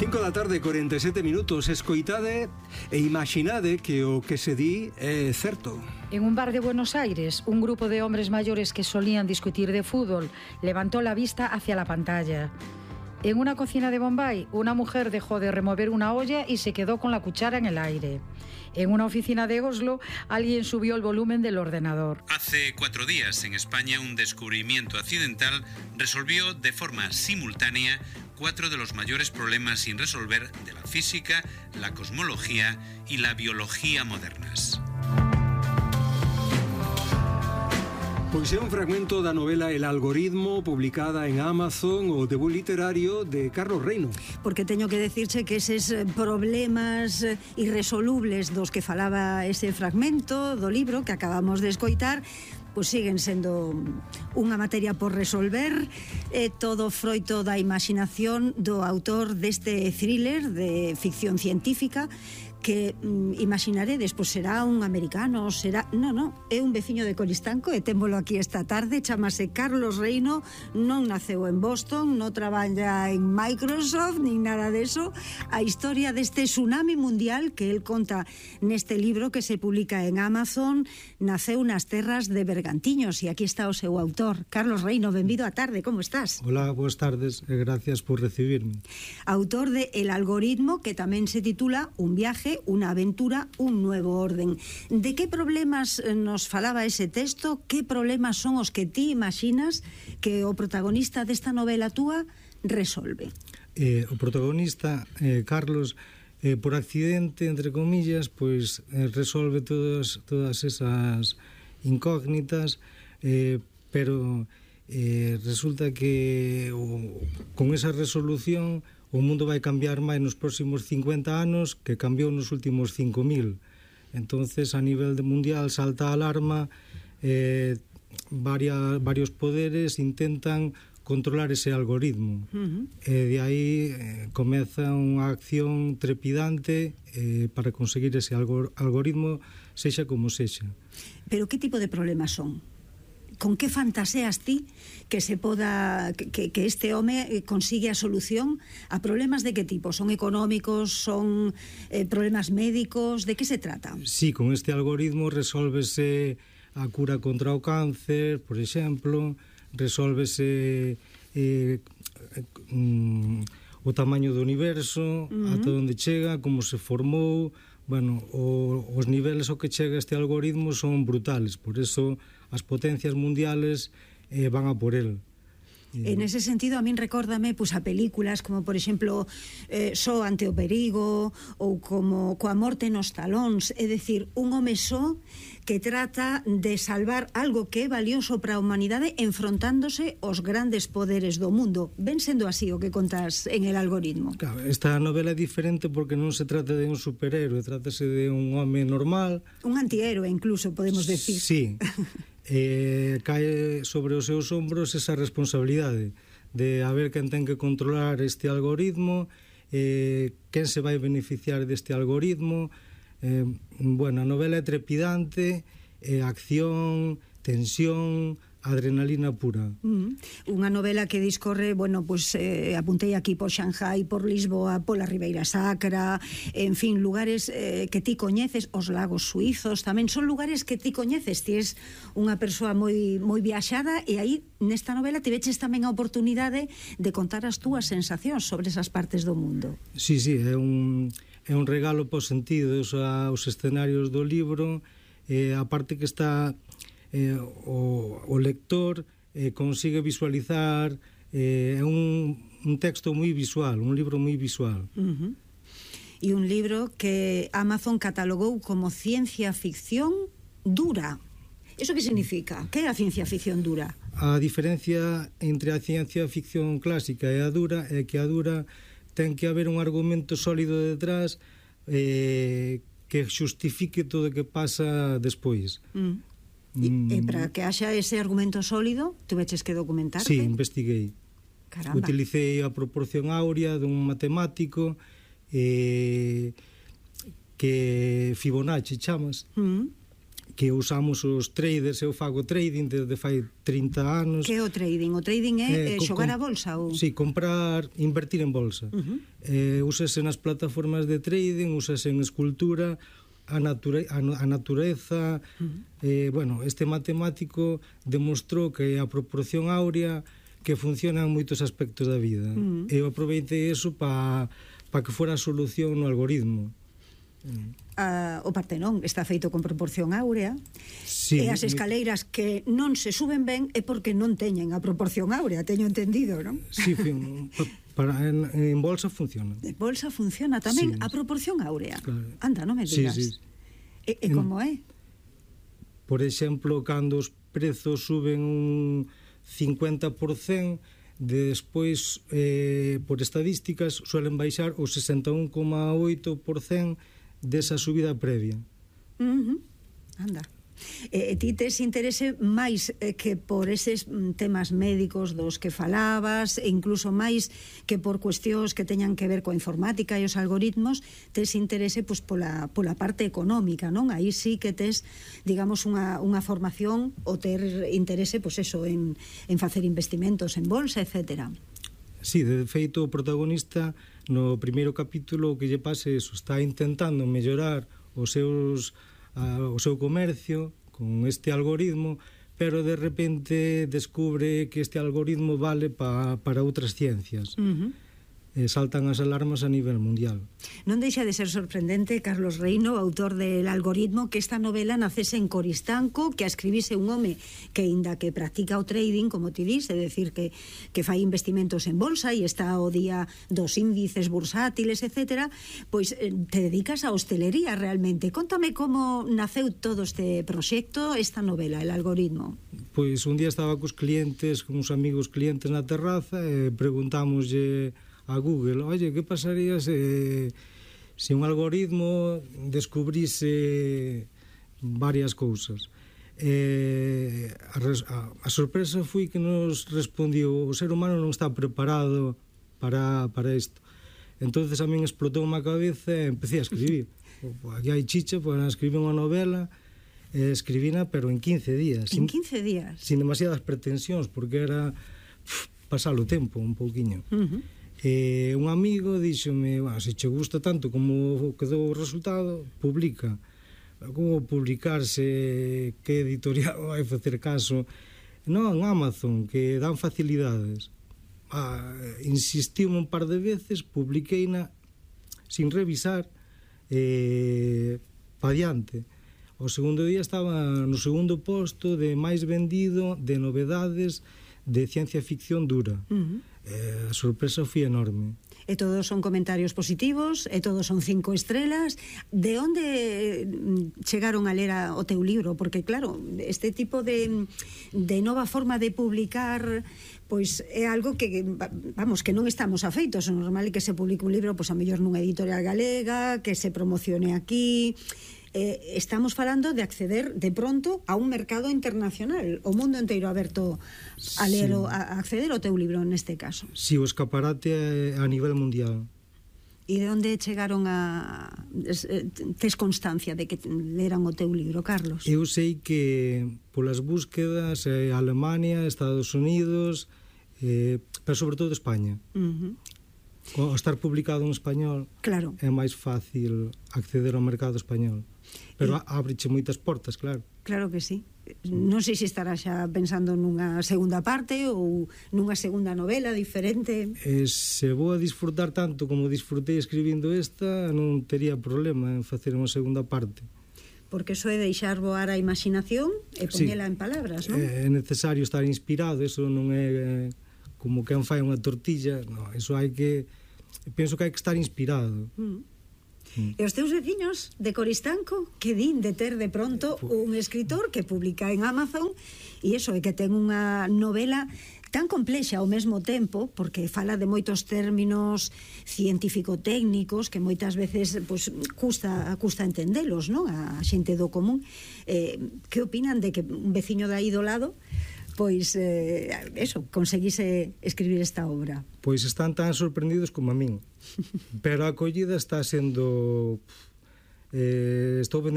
5 da tarde, 47 minutos. Escoitade e imaginade que o que se di é certo. En un bar de Buenos Aires, un grupo de hombres mayores que solían discutir de fútbol levantó la vista hacia la pantalla. En una cocina de Bombay, una mujer dejó de remover una olla y se quedó con la cuchara en el aire. En una oficina de Oslo, alguien subió el volumen del ordenador. Hace 4 días, en España, un descubrimiento accidental resolvió de forma simultánea 4 de los mayores problemas sin resolver de la física, la cosmología y la biología modernas. Pois é un fragmento da novela El algoritmo, publicada en Amazon, o debut literario de Carlos Reino. Porque teño que decirche que eses problemas irresolubles dos que falaba ese fragmento do libro que acabamos de escoitar, pois siguen sendo unha materia por resolver, todo froito da imaginación do autor deste thriller de ficción científica que imaginaredes, pois será un americano, será... Non, é un veciño de Coristanco e témolo aquí esta tarde, chamase Carlos Reino, non naceu en Boston, non traballa en Microsoft, nin nada deso. A historia deste tsunami mundial que el conta neste libro que se publica en Amazon naceu nas terras de Bergantiños e aquí está o seu autor. Carlos Reino, benvido á tarde, como estás? Hola, boas tardes e gracias por recibirme. Autor de El algoritmo, que tamén se titula Un viaje, una aventura, un nuevo orden. De que problemas nos falaba ese texto? Que problemas son os que ti imaginas que o protagonista desta novela túa resolve? O protagonista, Carlos, por accidente, entre comillas, pois resolve todas esas incógnitas, pero resulta que con esa resolución o mundo vai cambiar máis nos próximos 50 anos que cambiou nos últimos 5.000. Entonces, a nivel mundial salta a alarma, varios poderes intentan controlar ese algoritmo. E de aí comeza unha acción trepidante para conseguir ese algoritmo, sexa como sexa. Pero que tipo de problemas son? Con que fantaseas ti que se poda que este home consigue a solución a problemas de que tipo? Son económicos, son problemas médicos, de que se trata? Sí, con este algoritmo resolvese a cura contra o cáncer, por exemplo, resolvese o tamaño do universo, ata onde chega, como se formou. Bueno, os niveles ao que chega este algoritmo son brutales, por eso as potencias mundiales van a por el. En ese sentido, a min recórdame pois, a películas como, por exemplo, Só ante o perigo ou como Coa morte nos talóns, é dicir, un home só que trata de salvar algo que é valioso para a humanidade enfrontándose aos grandes poderes do mundo. Ven sendo así o que contas en El algoritmo. Claro, esta novela é diferente porque non se trata de un superhéroe, trátase de un home normal. Un antihéroe, incluso, podemos decir. Sí. Cae sobre os seus ombros esa responsabilidade de haber quen ten que controlar este algoritmo, quen se vai beneficiar deste algoritmo. Bueno, a novela é trepidante, acción, tensión, adrenalina pura. Unha novela que discorre, bueno, pues apuntei aquí por Shanghai, por Lisboa, pola Ribeira Sacra, en fin, lugares que ti coñeces, os lagos suizos, tamén son lugares que ti coñeces, ti és unha persoa moi viaxada e aí nesta novela tiveches tamén a oportunidade de contar as túas sensacións sobre esas partes do mundo. Sí, é un regalo por sentidos aos escenarios do libro, a parte que está o lector consigue visualizar, é un texto moi visual, un libro moi visual. E un libro que Amazon catalogou como ciencia ficción dura. Eso que significa? Que é a ciencia ficción dura? A diferencia entre a ciencia ficción clásica e a dura é que a dura ten que haber un argumento sólido detrás que xustifique todo o que pasa despois. E para que haxa ese argumento sólido, tuveches que documentarte? Sí, investiguei. Caramba. Utilicei a proporción áurea dun matemático que Fibonacci chamas, que usamos os traders. Eu fago trading desde fai 30 anos. Que é o trading? O trading é xogar a bolsa? Ou? Sí, comprar, invertir en bolsa. Úsase nas plataformas de trading, úsase en escultura, a natureza. Bueno, este matemático demostrou que a proporción áurea que funciona en moitos aspectos da vida. Eu aproveitei eso para que fora a solución no algoritmo. O Partenón está feito con proporción áurea, sí, e as escaleiras que non se suben ben é porque non teñen a proporción áurea, teño entendido, non? Sí, en bolsa funciona. En bolsa funciona tamén, sí, a proporción áurea. Claro. Anda, non me digas. Sí, sí. E como é? Por exemplo, cando os prezos suben un 50%, despois, por estadísticas, suelen baixar o 61,8% desa subida previa. Anda. Ti tes interese máis que por eses temas médicos dos que falabas, e incluso máis que por cuestións que teñan que ver coa informática e os algoritmos, tes interese pois pola parte económica, non? Aí sí que tes, digamos, unha formación ou ter interese, pois eso, en facer investimentos en bolsa, etcétera. Sí, de feito, o protagonista no primeiro capítulo o que lle pase eso, está intentando mellorar o seu comercio con este algoritmo, pero de repente descubre que este algoritmo vale para outras ciencias. Saltan as alarmas a nivel mundial. Non deixa de ser sorprendente, Carlos Reino, autor del Algoritmo, que esta novela nacese en Coristanco, que a escribise un home que, inda que practica o trading, como ti dis, é dicir, que fai investimentos en bolsa e está ao día dos índices bursátiles, etcétera, pois te dedicas á hostelería realmente. Contame como naceu todo este proxecto, esta novela, El Algoritmo. Pois un día estaba cos clientes, con uns amigos clientes na terraza, e preguntámoslle a Google, oye, que pasaría se un algoritmo descubrise varias cousas? A sorpresa foi que nos respondiu, o ser humano non está preparado para isto. Entonces a min explotou unha cabeza e empecé a escribir. Aquí hai chicha para escribir unha novela, escribina, pero en 15 días. En 15 días? Sin demasiadas pretensións, porque era pasar o tempo un pouquiño. Un amigo díxome, se che gusta tanto como quedou o resultado, publica. Como publicarse, que editorial vai facer caso? Non, Amazon, que dan facilidades. Insistiu un par de veces, publiqueina sin revisar, pa diante. O segundo día estaba no segundo posto de máis vendido de novedades de ciencia ficción dura. A sorpresa foi enorme. E todos son comentarios positivos, e todos son 5 estrelas. De onde chegaron a ler o teu libro? Porque claro, este tipo de nova forma de publicar, pois é algo que, vamos, que non estamos afeitos. O normal é que se publique un libro, pois a mellor nunha editorial galega, que se promocione aquí. Estamos falando de acceder de pronto a un mercado internacional, o mundo inteiro aberto a ler, a acceder ao teu libro neste caso. Si, o escaparate a nivel mundial. E de onde chegaron a... Tes constancia de que leran o teu libro, Carlos? Eu sei que polas búsquedas Alemania, Estados Unidos, pero sobre todo España. Ao estar publicado en español, claro, é máis fácil acceder ao mercado español. Pero ábreche moitas portas, claro. Claro que sí. Non sei se estará xa pensando nunha segunda parte ou nunha segunda novela diferente. Se vou a disfrutar tanto como disfrutei escribindo esta, non tería problema en facer unha segunda parte. Porque eso é deixar voar a imaginación e ponela en palabras, non? É necesario estar inspirado, eso non é como quen fai unha tortilla, no, eso hai que... Penso que hai que estar inspirado. E os teus veciños de Coristanco que din de ter de pronto un escritor que publica en Amazon e iso é que ten unha novela tan complexa ao mesmo tempo, porque fala de moitos términos científico-técnicos que moitas veces pues, custa entendelos, non? A xente do común. Que opinan de que un veciño de aí do lado pois, conseguise escribir esta obra? Pois están tan sorprendidos como a min. Pero a acollida está sendo... estou vendendo